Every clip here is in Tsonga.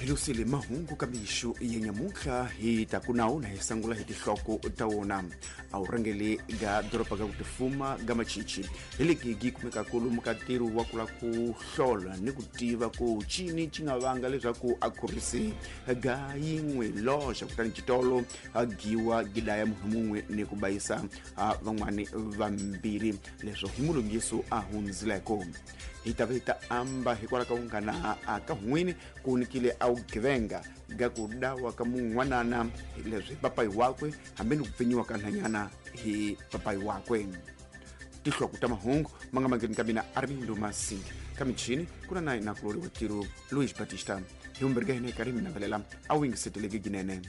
Hilusile mahungu ka mixo ya nyamuntlha hi ta ku nawu na hi sangula hi tinhloko ta wona. A wu rhangeli ga doroba ga ku tifuma ga Machichi hi legi gi kumekaka lomu ka ntirho wa ku lava ku hlola ni ku tiva ku cini ci nga vanga leswaku a khorisi ga yin'we loxa kutani xitolo a giwa gidaya munhu mun'we ni ku bayisa van'wani vambirhi, leswo hi mulungiso a hundzileko. Hi ta va hi ta amba hikwalaho ka vunghana a ka hun'wini ku nikile a vugevenga ga ku dawa ka mun'wanana leswi hi papayi wakwe hambi ni ku pfinyiwa ka nhanyana hi papayi wakwe. Tinhloko ta mahungu ma nga mangeni ka mina Armindo Masing, ka michini ku na na nakulori wa tiro Luis Batista. Hi vumbirhi ka hina hi karhi hi mi navelela a wu yingiseteleki ginene.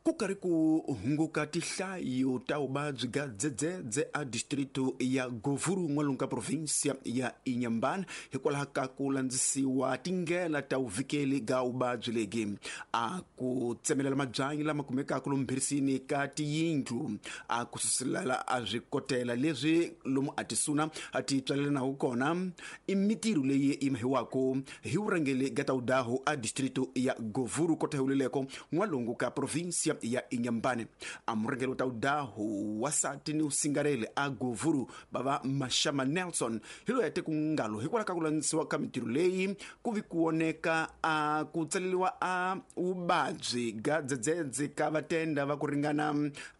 Ku karhi ku hunguka tihlayo ta vuvabyi ga dzedzedze a distrito ya Govuru n'walungu ka provinsia ya Inhambane hikwalaho ka ku landzisiwa tindlela ta vuvikeli ga vuvabyi legi. A ku tsemelela mabyanyi lama kumekaka lomu mbhirisini ka tiyindlu, a ku suselela a swikotela leswi lomu a tisuna a ti tswalelanaku kona, i mitirho leyi yi mahiwaka hi vurhangeri ga Taudaho a distrito ya Govuru kota huleleko n'walungu ka provinsia ya Inhambane. A murhangeri wa Taudaho wasati ni usingarele a Govuru bava Mashama Nelson hi loyi a te ku ngalo hikwalaho ka ku landzisiwa ka mitirho leyi ku vi ku voneka a ku tsaleriwa a vuvabyi ga dzedzedze ka vatenda va ku ringana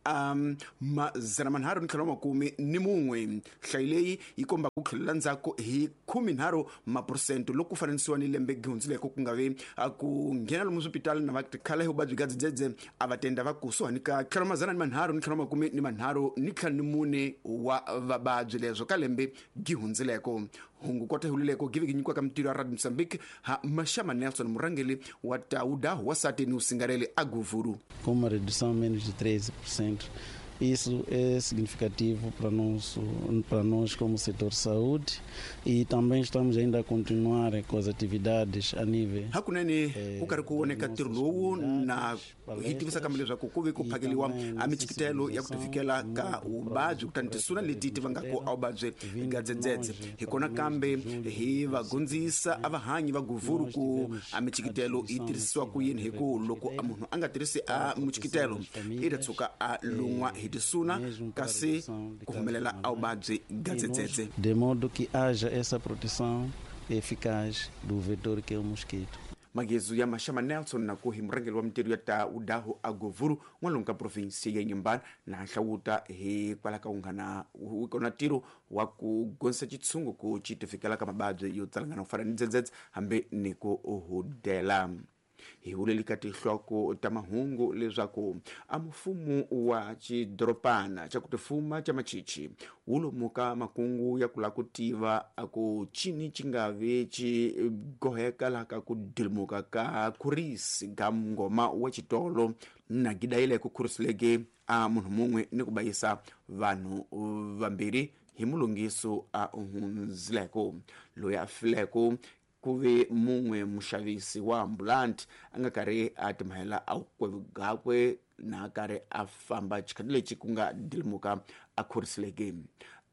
a 351. Nhlayo leyi yi komba ku tlhelela ndzhaku hi 13 maphurosente loko ku fananisiwa ni lembe gihundzileko, ku nga vi ku nghena lomu swipitali na va tikhala hi vuvabyi bya dzedzedze a va tenda va kusuhani ka tlhelo 334 wa vavabyi, leswo ka lembe gihundzileko. Hungu kota hulileko give nyikiwaka mitirho ya Radio Mozambique ha Mashama Nelson, murhangeri wa Tauda wasati ni usingareli a Govuru. Com uma redução menos de 13%. Isso é significativo para nós como setor saúde, e também estamos ainda a continuar com as atividades a nível. Hakunene ku karhi ku voneka ntirho lowu na hi tivisa kambe leswaku ku ve ku phakeliwa a michikitelo ya ku tivikela ka vuvabyi kutani tisuna leti ti vangaka a vuvabyi ga dzedzedze. Hi kona kambe hi va gondzisa a vahanyi va Govuru ku a michikitelo yi tirhisiwa ku yini, hi ku loko a munhu a nga tirhisi a muchikitelo i ta tshuka a lun'wa hi tisuna kasi ku humelela a vuvabyi ga dzedzedze. De modo que haja essa proteção eficaz do vetor que é o mosquito. Magezu ya Mashama Nelson na ku hi murhangeri wa mitirho ya ta Udahu a Govuru n'walungu ka provinsi ya Inhambane na hlawuta hikwalaho ka vunghana kona ntirho wa ku gonisa xitshungu ku xi tifikela ka mavabyi yo tsalangana ku fana ni dzedzedze hambi ni ku hudela. Hi vuleli ka tinhloko ta mahungu leswaku a mfumo wa xidoropana xa ku tifuma xa Machichi wu lomuka makungu ya ku lava ku tiva a ku cini xi nga vi xi goheka laha ka ku dilimuka ka khurisi ga ngoma wa xitolo na gidayile ku khurisileke a munhu mun'we ni ku bayisa vanhu vambirhi hi mulungiso a hundzileko. Loyi a fileko ku ve mun'we muxavisi wa ambulanti a nga karhi a timhela a gakwe na karhi a famba xikhati lexi ku nga dilimuka a khorisileke.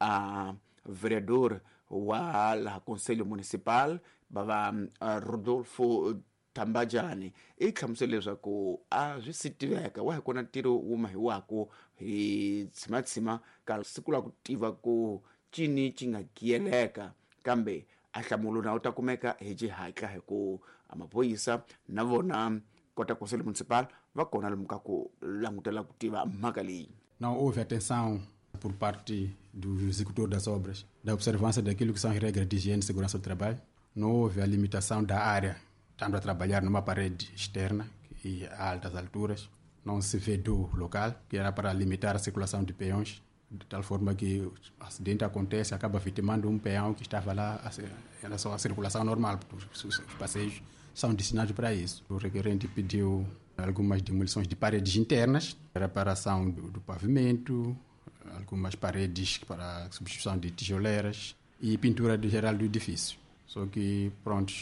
A vereador wa laha Conselho Municipal bava Rodolfo Tambajani i hlamusele leswaku a swi si tiveka wa hi kona ntirho wu mahiwako hi tshimatshima ka siku la ku tiva ku cini xi nga giyeleka, kambe a hlamulo na wu ta kumeka hi xihatla hi ku a maphorisa na vona kota Conselho Municipal va kona lomu ka ku langutela ku tiva mhaka leyi. Não houve atenção por parte do executor das obras, da observância daquilo que são as regras de higiene e segurança do trabalho. Não houve a limitação da área, estando a trabalhar numa parede externa e a altas alturas. Não se vedou o local, que era para limitar a circulação de peões, de tal forma que o acidente acontece, acaba vitimando um peão que estava lá em relação à circulação normal, porque os passeios são destinados para isso. O requerente pediu algumas demolições de paredes internas, reparação do pavimento, algumas paredes para substituição de tijoleiras e pintura geral do edifício. Só que, pronto,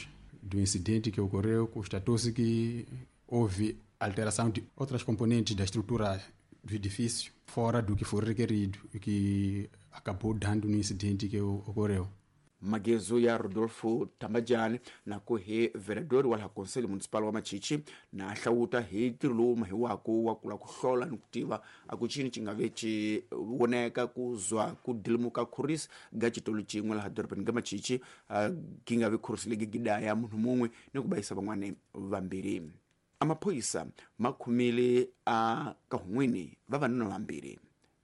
do incidente que ocorreu, constatou-se que houve alteração de outras componentes da estrutura do edifício, fora do que foi requerido e que acabou dando no incidente que ocorreu. Magezo ya Rodolfo Tambajani na ku hi vereador wa laha Conselho Municipal wa Machichi na hlawuta hi ntirho lowu mahiwako wa kula ku hlola ni ku tiva a ku cini ci nga ve ci voneka ku zwa ku dilimuka khurisi ga xitolo xin'we laha dorobeni ga Machichi, gi nga vi khurisi legi gidaya munhu mun'we ni ku bayisa van'wani vambirhi. Amaphoyisa ma khomile a kahun'wini vavanuna vambirhi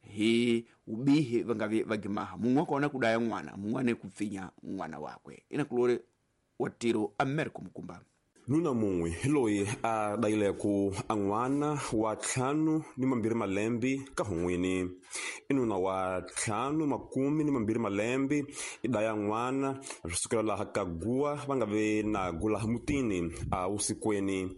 hi ubihi va nga vi va gimaha, mun'we wa kona ku daya n'wana, mun'wana ku pfinya n'wana wakwe. Inakulori wa tiro Americo Mukumba. Nuna mun'we hi loyi a dayileko a n'wana wa 52 malembe ka hun'wini. I nuna wa 52 malembe i daya n'wana swi sukela laha ka guwa va nga ve na gula mutini a vusikwini.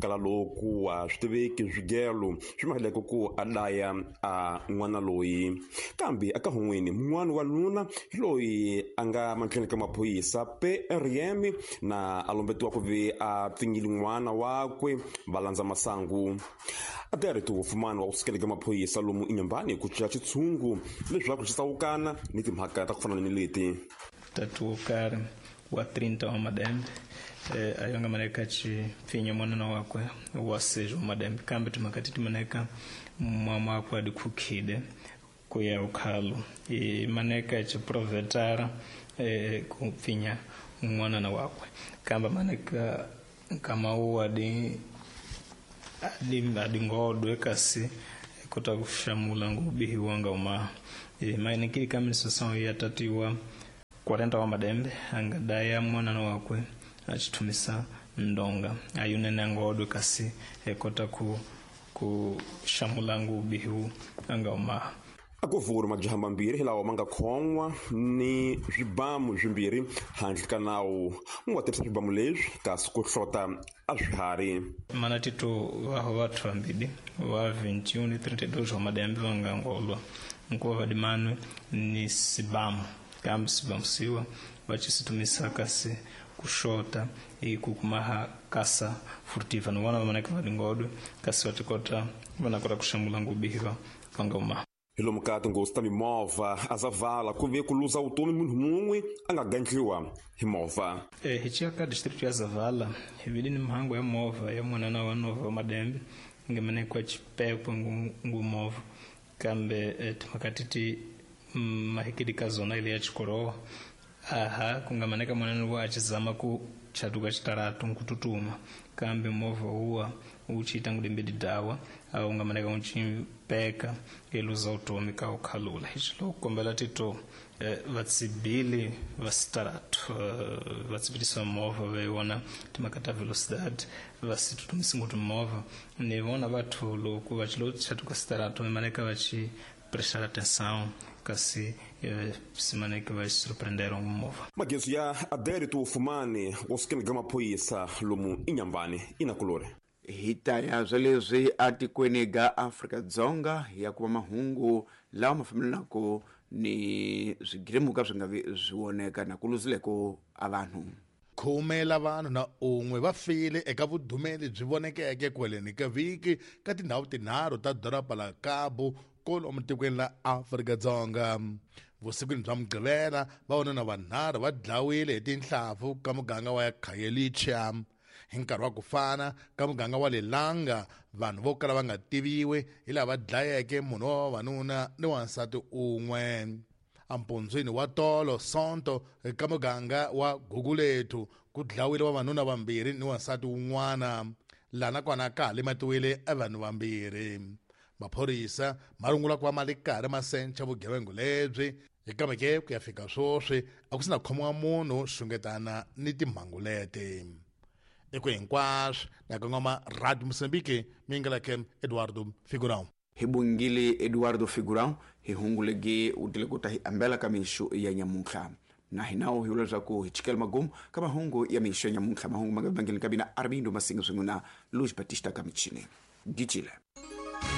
Kala loku wa swi tiveki swigelo swi mahileko ku a daya a n'wana loyi. Kambe aka hun'wini mun'wana wa nuna hi loyi a nga mandleni ka maphorisa PRM na a lombetiwa ku ve a pfinyile n'wana wakwe va landza masangu. A ti wofumani wa ku sukela ka maphorisa lomu eNyambani ku cinca xitshungu leswaku xi tsawukana ni timhaka ta ku fana ni leti. Tatu wo karhi wa 30 wa madembe ayonga maneka chipfinya mwanana wakwe wa 6 wa madembe, kambe timhaka ti maneka mama wakwe adikhukhile ku ya ukhalo i maneka chiprovetara ku pfinya mwanana wakwe, kambe maneka nkama wu adingodwe kasi kota kushamula ngubihi wanga uma mainikili kaminisosão ya tatiwa 40 wa madembe angadaya mwanana wakwe achitumisa ndonga ayunene angodwe kasi ekota ku shamula ngubihi anga uma. Akuvuri majaha mambirhi hi lawa ma nga khon'wa ni swibamu swimbirhi handle ka nawu mu nga tirhisa swibamu leswi kasi ku hlota a swiharhi. Mana tito vaho vathu vambili wa 21 ni 32 wa madembe va nga ngolwa nkuva vadimanwe ni sibamu, kambe sibamu siwa va chisitumisa kasi kushota ikukumaha kasa furtiva ni vona va maneke vadingodwe kasi va tikota vanakota kuxamula ngubihi va nga uma. Hi lomu ka tinghozi ta mimovha a Zavala ku ve ku luza vutomi munhu mun'we a nga gandliwa hi movha. Hi ciya ka district ya Zavala hi vile ni mhangu ya movha ya mwanana wa nova wa madembe nga manekwa chipekwe ngu movha, kambe timhaka ti mahikidi ka zona ile ya Chikorowa aha ku nga maneka mwanana wa achizama ku chatuka chitaratu nkututuma, kambe movha huwa uchiita ngudembedi dawa au nga maneka unchimpeka eluza utomi ka ukhalula. Hichilo kukombela tito vatsibili va sitaratu vatsibilisa movha veiwona timhaka ta velocidade vasitutumisi nguti movha ni vona vathu loko vachilo chatuka sitaratu maneka vachi prestar atenção kasi simaneke va surpreenderam movha. Magezo ya Adérito Fumani wo sukela ka maphorisa lomu eNyambani inakulori. Hi ta ya swa leswi atikweni ga Afrika-Dzonga ya kuma mahungu lawa ma fambelanaka ni swigirimuka swi nga vi swi voneka na ku luzileko a vanhu. 10 la vanhu na un'we va file eka vudumeli byi vonekeke kweleni ka vhiki ka tindhawu tinharhu ta doroba la Cabo kwalomu tikweni la Afrika-Dzonga. Vusikwini bya Mugqivela vavanuna vanharhu va dlawile hi tinhlampfu ka muganga wa Khayelitsha. Hi nkarhi wa ku fana ka muganga wa Lelanga vanhu vo kala va nga tiviwi hi lava dlayeke munhu wa vavanuna ni wansati un'we. Ampundzwini wa tolo Sonto ka muganga wa Gugulethu ku dlawile vavanuna vambirhi ni wansati wun'wana, lana kona ka ha lematiwile vanhu vambirhi. Maphorisa ma rungula ku va ma le karhi ma sencha vugevenga lebyi, kambe ke ku ya fika sweswi a ku sina khomiwa munhu xungetana ni timhangu leti. Eku hinkwaswo na kongoma Radio Mozambique mingalake Eduardo Figurão. Hi bungile Eduardo Figurão hi hungulege u tile ku ta hi ambela ka mixo ya nyamuntlha. Na hinawo hi vula leswaku hi chikela magumu ka mahungu ya mixo ya nyamuntlha. Mahungu ma nga vangeli ka mina Armindo Masinga swin'we na Luis Batista ka michini. Gicile.